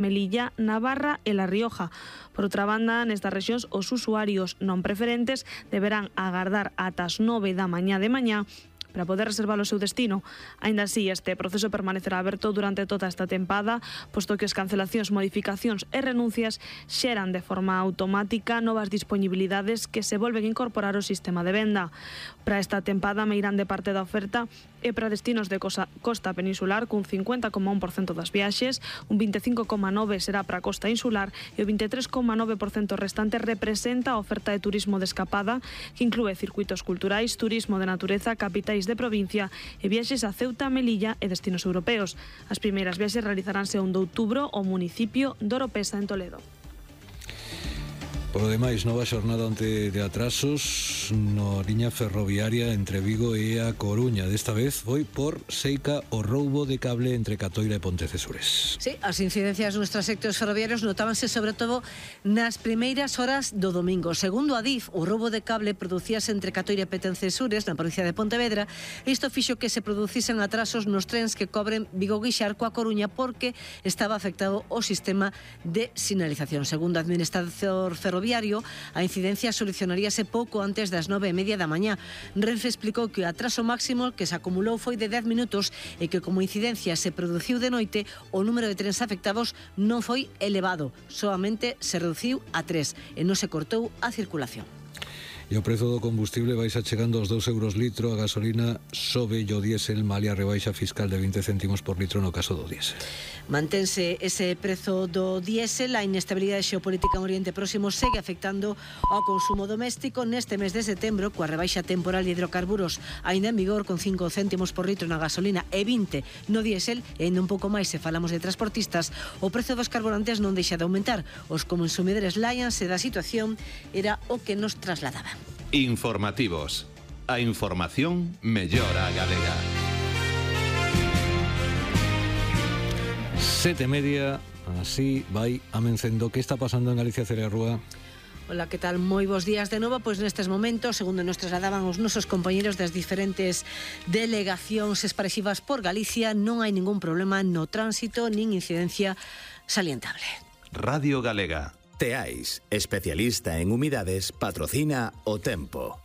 Melilla, Navarra e La Rioja. Por outra banda, nestas rexións, os usuarios non preferentes deberán agardar ata as 9 da mañá para poder reservar o seu destino. Aínda así, este proceso permanecerá aberto durante toda esta tempada, posto que as cancelacións, modificacións e renuncias xeran de forma automática novas disponibilidades que se volven a incorporar ao sistema de venda. Para esta tempada, meirán de parte da oferta e para destinos de costa peninsular, cun 50,1% das viaxes, un 25,9% será para a costa insular e o 23,9% restante representa a oferta de turismo de escapada, que inclúe circuitos culturais, turismo de natureza, capitais de provincia e viaxes a Ceuta, Melilla e destinos europeos. As primeiras viaxes realizaránse o 1 de outubro ao municipio de Oropesa, en Toledo. Por lo demais, nova xornada onte de atrasos na liña ferroviaria entre Vigo e a Coruña. Desta vez foi por seica o roubo de cable entre Catoira e Pontecesures. Sí, as incidencias nos traxectos ferroviarios notábanse sobre todo nas primeiras horas do domingo. Segundo a DIF, o roubo de cable producíase entre Catoira e Pontecesures, na provincia de Pontevedra. Isto fixo que se producisen atrasos nos trens que cobren Vigo-Guixar coa Coruña porque estaba afectado o sistema de sinalización. Segundo o administrador ferroviario, a incidencia solucionaríase pouco antes das 9:30 da mañá. Renfe explicou que o atraso máximo que se acumulou foi de 10 minutos e que como a incidencia se produciu de noite, o número de trens afectados non foi elevado, solamente se reduciu a 3 e non se cortou a circulación. E o prezo do combustible vai xa chegando aos 2 euros litro, a gasolina sobe e o diésel malia a rebaixa fiscal de 20 céntimos por litro no caso do diésel. Mantense ese prezo do diésel, a inestabilidade xeopolítica en Oriente Próximo segue afectando ao consumo doméstico neste mes de setembro, coa rebaixa temporal de hidrocarburos aínda en vigor con 5 céntimos por litro na gasolina e 20 no diésel, e ainda un pouco máis se falamos de transportistas, o prezo dos carburantes non deixa de aumentar. Os consumidores láianse da situación, era o que nos trasladaba. Informativos. A información mellora a galega. 7:30, así vai amencendo. Que está pasando en Galicia, Celia Rúa? Ola, que tal? Moi bons días de novo. Pois nestes momentos, segundo nos trasladaban os nosos compañeros das diferentes delegacións esparexivas por Galicia, non hai ningún problema no tránsito nin incidencia salientable. Radio Galega. Teais, especialista en humidades, patrocina o tempo.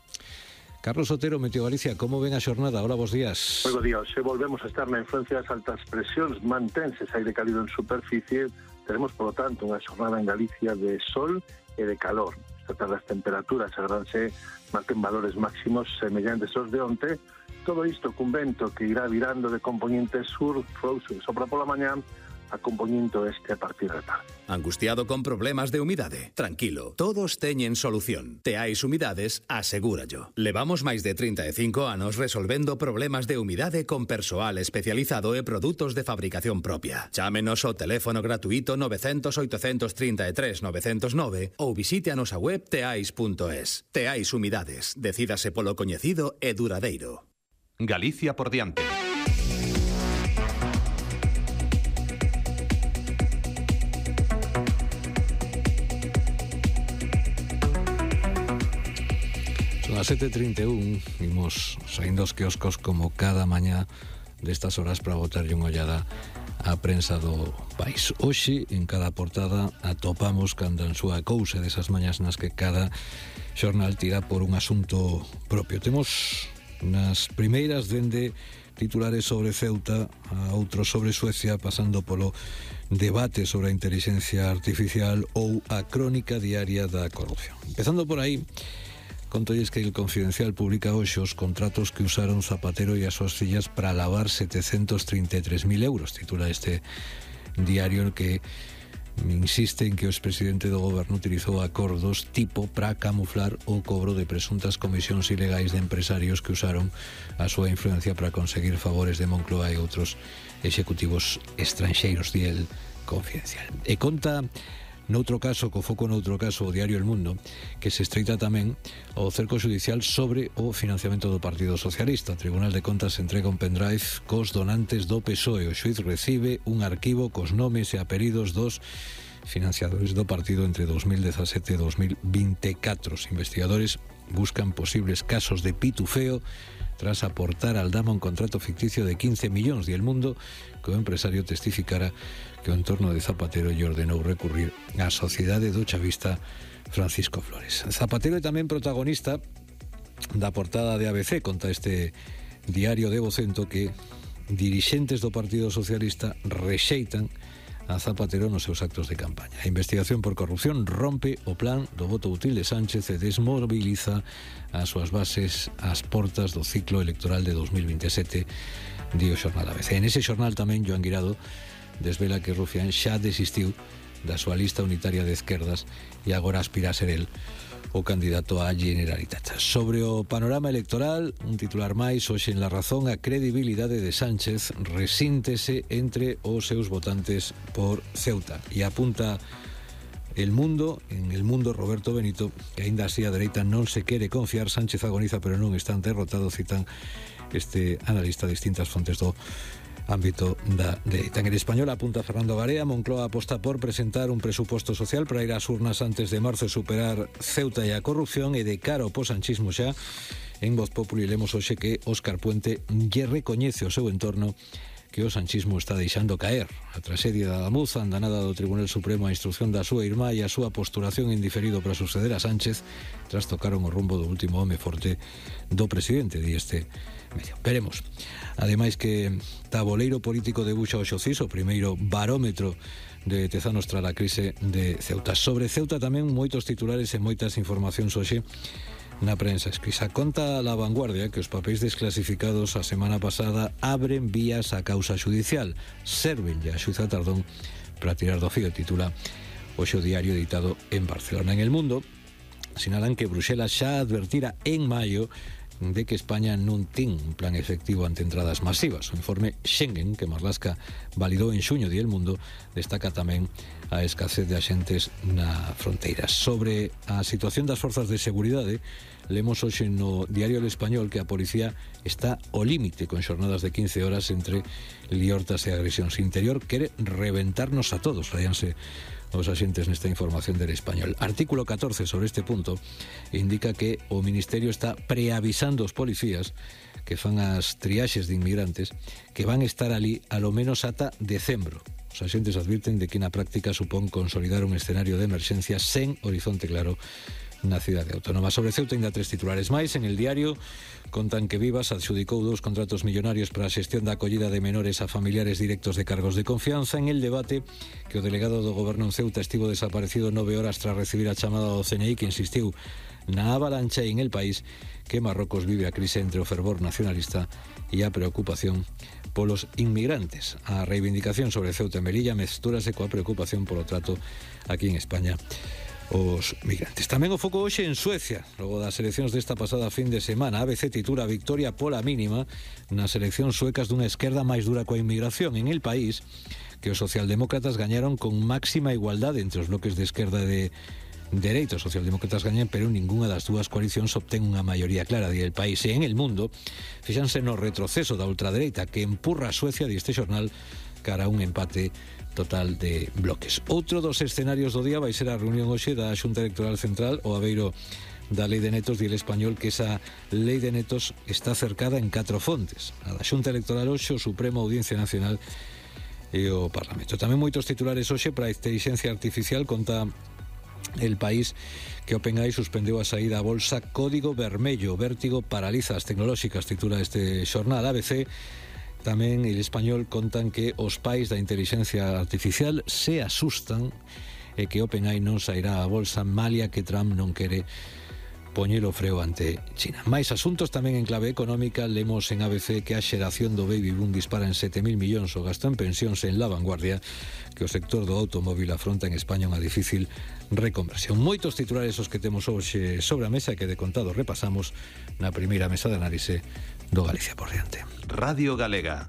Carlos Otero, Meteo Galicia, como ven a xornada? Hola, bons días. Moi bons días. Se volvemos a estar na influencia das altas presións, mantense ese aire cálido en superficie, teremos, por lo tanto, unha xornada en Galicia de sol e de calor. Esta tarde as temperaturas agranse marquen valores máximos semellantes aos de onte. Todo isto cun vento que irá virando de componente sur, sopra pola mañá, a componente oeste a partir da tarde. Angustiado con problemas de humidade? Tranquilo, todos teñen solución. Teais Humidades, asegúrallo. Levamos máis de 35 anos resolvendo problemas de humidade con persoal especializado e produtos de fabricación propia. Chámenos ao teléfono gratuito 900 833 909 ou visite a nosa web teais.es. Teais Humidades, decídase polo coñecido e duradeiro. Galicia por diante. Son as 7:31, imos saindo os quioscos como cada mañá destas horas para botarlle unha ollada á prensa do país. Hoxe, en cada portada, atopamos canda en súa cousa desas mañas nas que cada xornal tira por un asunto propio. Temos nas primeiras dende titulares sobre Ceuta a outros sobre Suecia, pasando polo debate sobre a inteligencia artificial ou a crónica diaria da corrupción. Empezando por aí, contolles que el Confidencial publica hoxe os contratos que usaron Zapatero e as súas fillas para lavar 733.000 euros. Titula este diario que insiste en que o expresidente do goberno utilizou acordos tipo para camuflar o cobro de presuntas comisións ilegais de empresarios que usaron a súa influencia para conseguir favores de Moncloa e outros executivos estranxeiros, di el Confidencial. E conta noutro caso, co foco noutro caso, o diario El Mundo, que se estreita tamén ao cerco judicial sobre o financiamento do Partido Socialista. O Tribunal de Contas entrega un pendrive cos donantes do PSOE. O xuiz recibe un arquivo cos nomes e apelidos dos financiadores do partido entre 2017 e 2024. Os investigadores buscan posibles casos de pitufeo tras aportar al Dama un contrato ficticio de 15 millóns, e El Mundo que o empresario testificara que o entorno de Zapatero lle ordenou recurrir á sociedade do chavista Francisco Flores. Zapatero é tamén protagonista da portada de ABC, conta este diario de Vocento que dirixentes do Partido Socialista rexeitan a Zapatero nos seus actos de campaña. A investigación por corrupción rompe o plan do voto útil de Sánchez e desmobiliza as súas bases ás portas do ciclo electoral de 2027, di o xornal ABC. En ese xornal tamén Joan Guirado desvela que Rufián xa desistiu da súa lista unitaria de esquerdas e agora aspira a ser el o candidato á Generalitat. Sobre o panorama electoral, un titular máis, hoxe en La Razón, a credibilidade de Sánchez resíntese entre os seus votantes por Ceuta. E apunta El Mundo, en El Mundo Roberto Benito, que aínda así a dereita non se quere confiar, Sánchez agoniza pero non están derrotados, citan este analista de distintas fontes do ámbito da dereita. En El Español apunta Fernando Garea, Moncloa aposta por presentar un presuposto social para ir ás urnas antes de marzo e superar Ceuta e a corrupción, e de cara ao posanchismo xa. En Voz Populi lemos hoxe que Óscar Puente lle recoñece ao seu entorno que o sanchismo está deixando caer. A traxedia da Damuza, a andanada do Tribunal Supremo, a instrucción da súa irmá e a súa postulación en diferido para suceder a Sánchez tras tocaron o rumbo do último home forte do presidente, di este medio. Veremos. Ademais que taboleiro político debuxa o Xocís, o primeiro barómetro de Tezanos tras a crise de Ceuta. Sobre Ceuta tamén moitos titulares e moitas informacións hoxe na prensa escrita. Conta La Vanguardia que os papéis desclasificados a semana pasada abren vías á causa judicial. Servenlle a xuíza Tardón para tirar do fío, titula hoxe o diario editado en Barcelona. En El Mundo sinalan que Bruxelas xa advertira en maio de que España non ten un plan efectivo ante entradas masivas. O informe Schengen, que Marlaska validou en xuño, di El Mundo, destaca tamén a escasez de axentes na fronteira. Sobre a situación das forzas de seguridade, lemos hoxe no diario El Español que a policía está ao límite con xornadas de 15 horas entre liortas e agresións. Interior quere reventarnos a todos, rayanse os axentes nesta información del Español. Artículo 14 sobre este punto indica que o Ministerio está preavisando os policías que fan as triaxes de inmigrantes que van estar ali a lo menos ata decembro. Os axentes advirten de que na práctica supón consolidar un escenario de emerxencia sen horizonte claro na cidade autónoma. Sobre Ceuta ainda 3 titulares máis. En El Diario contan que Vivas adxudicou 2 contratos millonarios para a xestión da acollida de menores a familiares directos de cargos de confianza. En El Debate que o delegado do goberno en Ceuta estivo desaparecido 9 horas tras recibir a chamada do CNI que insistiu na avalancha en El País que Marrocos vive a crise entre o fervor nacionalista e a preocupación polos inmigrantes. A reivindicación sobre Ceuta e Melilla mestúrase coa preocupación polo trato aquí en España os migrantes. Tamén o foco hoxe en Suecia, logo das eleccións desta pasada fin de semana. ABC titula victoria pola mínima nas eleccións suecas dunha esquerda máis dura coa inmigración. En El País que os socialdemócratas gañaron con máxima igualdade entre os bloques de esquerda e de dereita. Os socialdemócratas gañan, pero ningunha das dúas coalicións obtén unha maioría clara, di El País. E en El Mundo fixanse no retroceso da ultradereita que empurra a Suecia, di este xornal, cara a un empate total de bloques. Outro dos escenarios do día vai ser a reunión hoxe da Xunta Electoral Central o abeiro da Lei de Netos, di El Español que esa Lei de Netos está cercada en 4 fontes. A da Xunta Electoral hoxe, o Supremo, Audiencia Nacional e o Parlamento. Tamén moitos titulares hoxe para a inteligencia artificial. Conta El País que OpenAI suspendeu a saída a bolsa Código Vermello. Vértigo paraliza as tecnolóxicas, titula este xornal. ABC tamén El Español contan que os pais da inteligencia artificial se asustan e que OpenAI non sairá a bolsa malia que Trump non quere poñelo freo ante China. Mais asuntos tamén en clave económica. Lemos en ABC que a xeración do baby boom dispara en 7.000 millóns o gasto en pensións. En La Vanguardia que o sector do automóvil afronta en España unha difícil reconversión. Moitos titulares os que temos hoxe sobre a mesa que de contado repasamos na primeira mesa de análise do Galicia por diante. Radio Galega.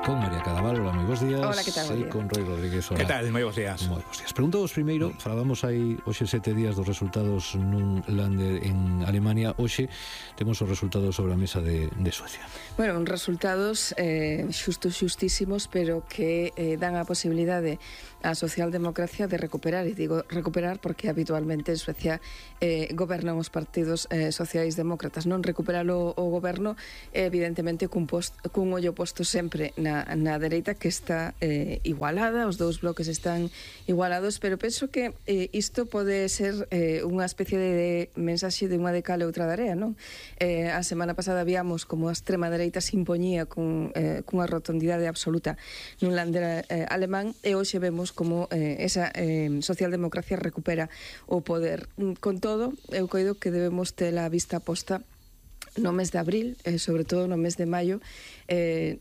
con María Cadaval. Hola, moi bons días. Hola, que tal? E con Roy Rodríguez. Hola. Que tal? Moi bons días. Moi bons días. Preguntovos primeiro, falábamos aí hoxe 7 días dos resultados nun Lander en Alemania. Hoxe temos os resultados sobre a mesa de Suecia. Bueno, resultados xustísimos, pero que dan a posibilidade á socialdemocracia de recuperar, e digo recuperar porque habitualmente en Suecia gobernan os partidos sociais demócratas. Non recuperar o goberno, evidentemente cun ollo posto sempre na dereita, que está igualada, os dous bloques están igualados, pero penso que isto pode ser unha especie de mensaxe de unha de cal e outra de area, non? A semana pasada víamos como a extrema dereita se impoñía cunha rotundidade absoluta nun Lander alemán, e hoxe vemos como esa socialdemocracia recupera o poder. Con todo, eu coido que debemos ter a vista posta no mes de abril, sobre todo no mes de maio,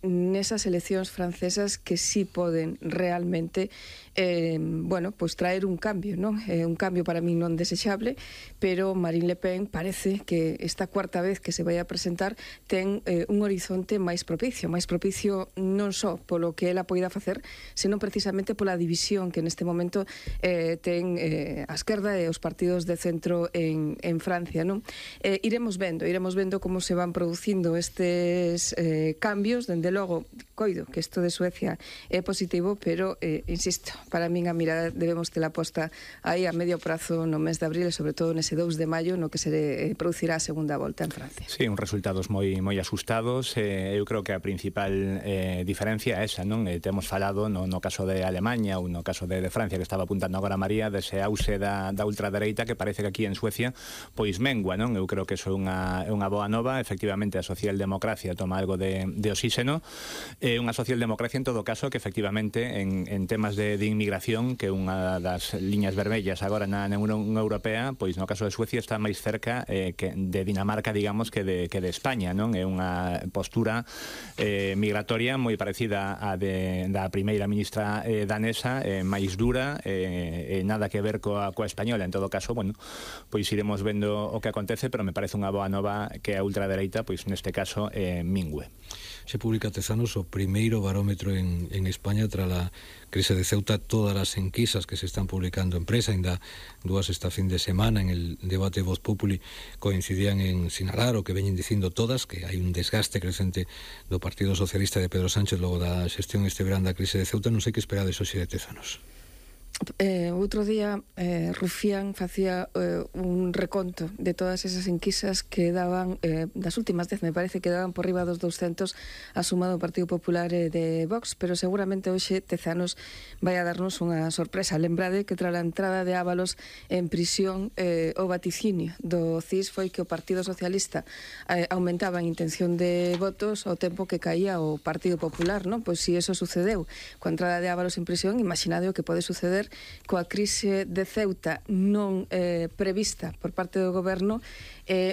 nesas eleccións francesas que sí poden realmente pues traer un cambio, non? Un cambio para mí non desexable, pero Marine Le Pen parece que esta cuarta vez que se vai a presentar ten un horizonte máis propicio non só polo que ela poida facer, senón precisamente pola división que neste momento ten a esquerda e os partidos de centro en Francia, non? Iremos vendo como se van producindo estes cambios. Dende logo, coido que isto de Suecia é positivo, pero, insisto, para min a mirada debemos tela posta aí a medio prazo no mes de abril, e sobre todo nese 2 de maio no que se producirá a segunda volta en Francia. Sí, uns resultados moi asustados. Eu creo que a principal diferencia é esa, non? Temos falado no caso de Alemanha ou no caso de Francia, que estaba apuntando agora María, dese auxe da ultradereita, que parece que aquí en Suecia pois mengua, non? Eu creo que iso é unha boa nova. Efectivamente, a socialdemocracia toma algo de oxígeno. Unha socialdemocracia, en todo caso, que efectivamente en temas de inmigración, que é unha das liñas vermellas agora na Unión Europea, pois no caso de Suecia está máis cerca que de Dinamarca, digamos, que de España, non? É unha postura migratoria moi parecida á da primeira ministra danesa, máis dura, nada que ver coa española. En todo caso, bueno, pois iremos vendo o que acontece, pero me parece unha boa nova que a ultradereita, pois neste caso, mingue. Se publica Tezanos o primeiro barómetro en España tras a crise de Ceuta. Todas as enquisas que se están publicando en prensa, ainda dúas esta fin de semana en el debate Voz Populi, coincidían en sinalar o que veñen dicindo todas, que hai un desgaste crecente do Partido Socialista de Pedro Sánchez logo da xestión este verán da crise de Ceuta. Non sei que esperades hoxe de Tezanos. Outro día Rufián facía un reconto de todas esas enquisas que daban das últimas 10, me parece que daban por riba dos 200 a suma do Partido Popular de Vox, pero seguramente hoxe Tezanos vai a darnos unha sorpresa. Lembrade que tras a entrada de Ábalos en prisión, o vaticinio do CIS foi que o Partido Socialista aumentaba en intención de votos ao tempo que caía o Partido Popular, non? Pois se iso sucedeu coa entrada de Ábalos en prisión, imaginade o que pode suceder coa crise de Ceuta non prevista por parte do goberno,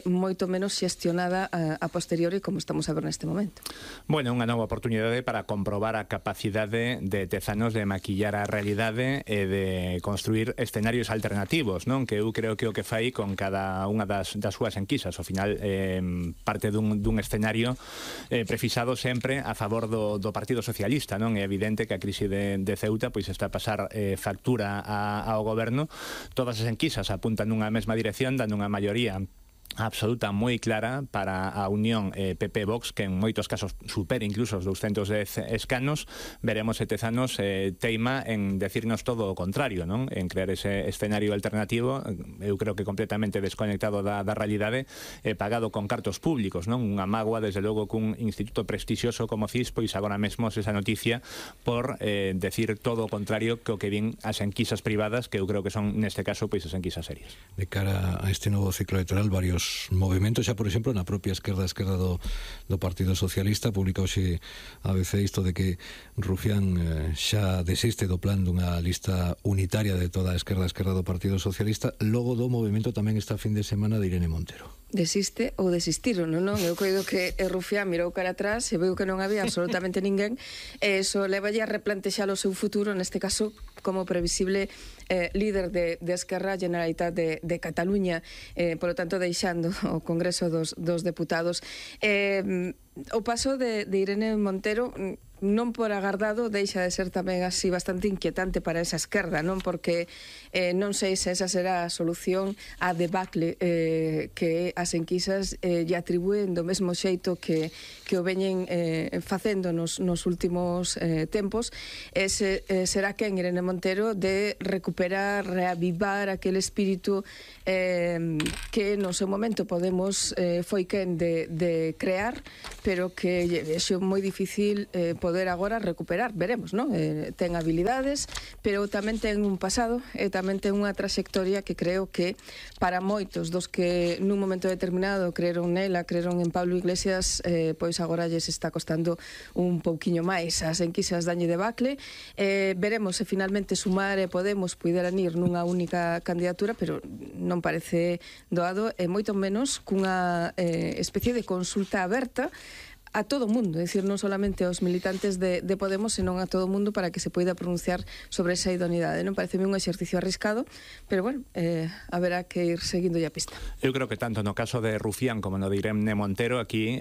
moito menos xestionada a posteriori, como estamos a ver neste momento. Bueno, unha nova oportunidade para comprobar a capacidade de Tezanos de maquillar a realidade e de construir escenarios alternativos, non? Que eu creo que o que fai con cada unha das súas enquisas, ao final parte dun escenario prefixado sempre a favor do Partido Socialista, non? É evidente que a crise de Ceuta pois está a pasar factura ao goberno. Todas as enquisas apuntan nunha mesma dirección, dando unha maioría absoluta moi clara para a unión PP-Vox, que en moitos casos supera incluso os 210 escanos. Veremos se Tezanos teima en decirnos todo o contrario, non? En crear ese escenario alternativo, eu creo que completamente desconectado da realidade, pagado con cartos públicos, non? Unha mágoa, desde logo, cun instituto prestixioso como CIS, pois agora mesmo esa noticia por decir todo o contrario que o que din as enquisas privadas, que eu creo que son, neste caso, pois as enquisas serias. De cara a este novo ciclo electoral, varios movimentos, xa por exemplo na propia esquerda do Partido Socialista. Publica hoxe a ABC isto de que Rufián xa desiste do plan dunha lista unitaria de toda a esquerda do Partido Socialista. Logo do movimento tamén esta fin de semana de Irene Montero. Desiste ou desistiron, non? Eu coido que Rufián mirou cara atrás e veu que non había absolutamente ninguén, e iso levalle a replantexar o seu futuro, neste caso como previsible líder de Esquerra, Generalitat de Cataluña, polo tanto deixando o Congreso dos Deputados. O paso de Irene Montero non por agardado deixa de ser tamén así bastante inquietante para esa esquerda, non? Porque non sei se esa será a solución a debacle que as enquisas lle atribúen do mesmo xeito que o veñen facendo nos últimos tempos. Será quen Irene Montero de recuperar, reavivar aquel espírito que no seu momento Podemos foi quen de crear, pero que é moi difícil poder agora recuperar, veremos, non? Ten habilidades, pero tamén ten un pasado e tamén ten unha trayectoria que creo que para moitos dos que nun momento determinado creeron nela, creeron en Pablo Iglesias, pois agora lles está costando un pouquiño máis. As enquisas dañe debacle, veremos se finalmente Sumar e Podemos puideran ir nunha única candidatura, pero non parece doado, e moito menos cunha especie de consulta aberta a todo o mundo, é dicir, non solamente aos militantes de Podemos, senón a todo o mundo para que se poida pronunciar sobre esa idoneidade. Non pareceme un exercicio arriscado, pero bueno, haberá que ir seguindo a pista. Eu creo que tanto no caso de Rufián como no de Irene Montero aquí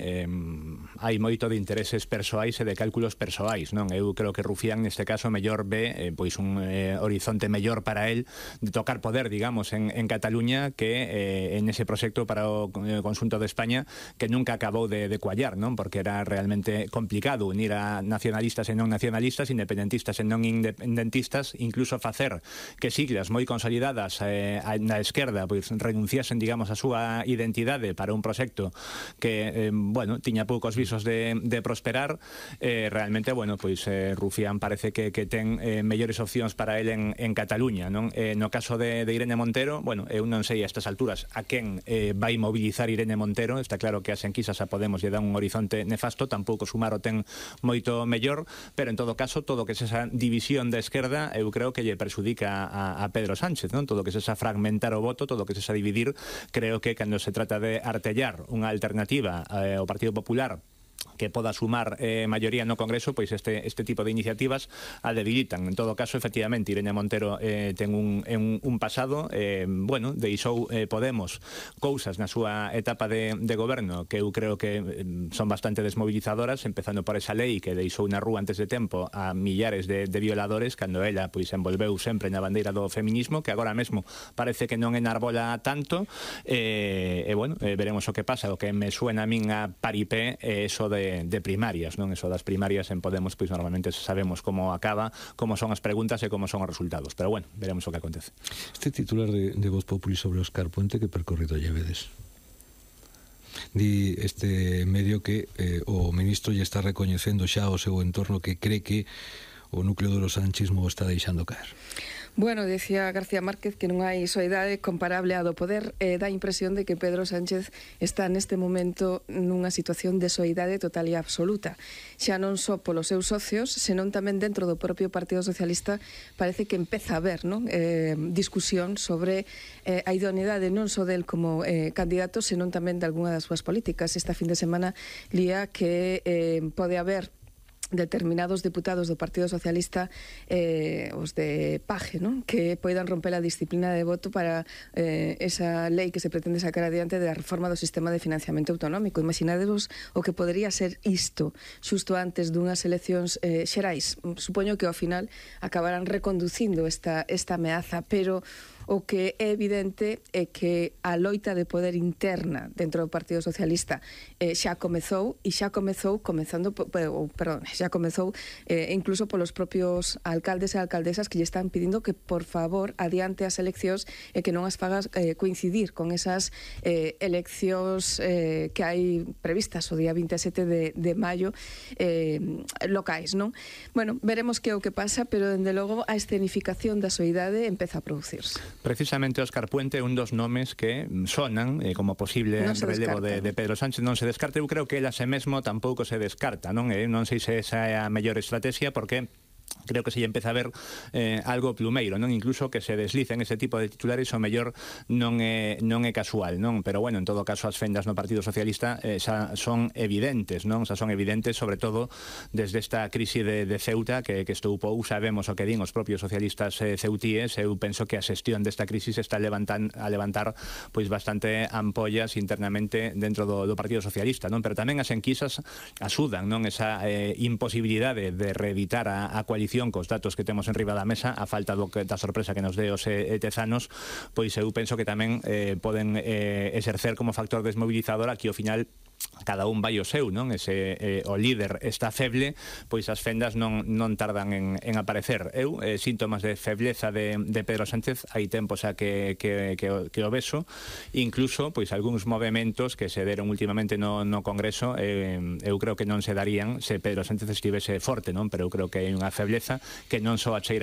hai moito de intereses persoais e de cálculos persoais, non? Eu creo que Rufián neste caso mellor ve pois un horizonte mellor para él de tocar poder, digamos, en Cataluña que en ese proxecto para o conxunto de España que nunca acabou de cuallar, non? Porque era realmente complicado unir a nacionalistas e non nacionalistas, independentistas e non independentistas, incluso facer que siglas moi consolidadas na esquerda pois renunciasen, digamos, a súa identidade para un proxecto que, bueno, tiña poucos visos de prosperar. Realmente, bueno, pois Rufián parece que ten mellores opcións para él en Cataluña, non? No caso de Irene Montero, bueno, eu non sei a estas alturas a quen vai mobilizar Irene Montero. Está claro que as enquisas a Podemos lle dan un horizonte nefasto, tampouco Sumar o ten moito mellor, pero en todo caso todo que é esa división da esquerda eu creo que lle perxudica a Pedro Sánchez, non? Todo que é esa fragmentar o voto, todo que é esa dividir, creo que cando se trata de artellar unha alternativa ao Partido Popular que poda sumar maioría no Congreso, pois este tipo de iniciativas a debilitan. En todo caso, efectivamente, Irene Montero ten un pasado, bueno, deixou Podemos cousas na súa etapa de goberno que eu creo que son bastante desmovilizadoras, empezando por esa lei que deixou na rúa antes de tempo a millares de violadores, cando ela pois envolveu sempre na bandeira do feminismo, que agora mesmo parece que non enarbola tanto, e bueno, veremos o que pasa. O que me suena a min a paripé é eso de primarias, non? Eso das primarias en Podemos, pois normalmente sabemos como acaba, como son as preguntas e como son os resultados, pero bueno, veremos o que acontece. Este titular de Voz Populi sobre Óscar Puente, que percorrido lle vedes? Di este medio que o ministro lle está recoñecendo xa ao seu entorno que cree que o núcleo do sanchismo o está deixando caer. Bueno, decía García Márquez que non hai soidade comparable á do poder, dá a impresión de que Pedro Sánchez está neste momento nunha situación de soidade total e absoluta. Xa non só polos seus socios, senón tamén dentro do propio Partido Socialista parece que empeza a haber, non? Discusión sobre a idoneidade non só del como candidato, senón tamén de algunha das súas políticas. Esta fin de semana lía que pode haber determinados deputados do Partido Socialista, os de Paje, non? Que poidan romper a disciplina de voto para esa lei que se pretende sacar adiante da reforma do sistema de financiamento autonómico. Imaginadevos o que podería ser isto xusto antes dunhas eleccións xerais. Supoño que ao final acabarán reconducindo esta ameaza, pero o que é evidente é que a loita de poder interna dentro do Partido Socialista xa comezou incluso polos propios alcaldes e alcaldesas que lle están pedindo que por favor adiante as eleccións e que non as fagas coincidir con esas eleccións que hai previstas o día 27 de maio locais, non? Bueno, veremos que é o que pasa, pero dende logo a escenificación da soidade empeza a producirse. Precisamente Óscar Puente é un dos nomes que sonan como posible relevo de Pedro Sánchez. Non se descarta, eu creo que ela se mesmo tampouco se descarta, non? Non sei se esa é a mellor estrategia, porque creo que se empeza a ver algo plumeiro, non? Incluso que se deslicen ese tipo de titulares o mellor non é casual, non? Pero bueno, en todo caso as fendas no Partido Socialista xa son evidentes, non? Xa son evidentes, sobre todo desde esta crise de Ceuta que estoupou, sabemos o que din os propios socialistas ceutíes. Eu penso que a xestión desta crise está a levantar pois bastante ampollas internamente dentro do Partido Socialista, non? Pero tamén as enquisas axudan, non? Esa imposibilidade de reeditar a coalición cos datos que temos en riba da mesa, a falta da sorpresa que nos dé os tezanos, pois eu penso que tamén poden exercer como factor desmobilizador a que ao final cada un vai o seu, non? O líder está feble, pois as fendas non tardan en aparecer. Eu, síntomas de febleza de Pedro Sánchez, hai tempo xa que o beso, incluso pois algúns movementos que se deron últimamente no Congreso, eu creo que non se darían se Pedro Sánchez estivese forte, non? Pero eu creo que hai unha febleza que non só acheira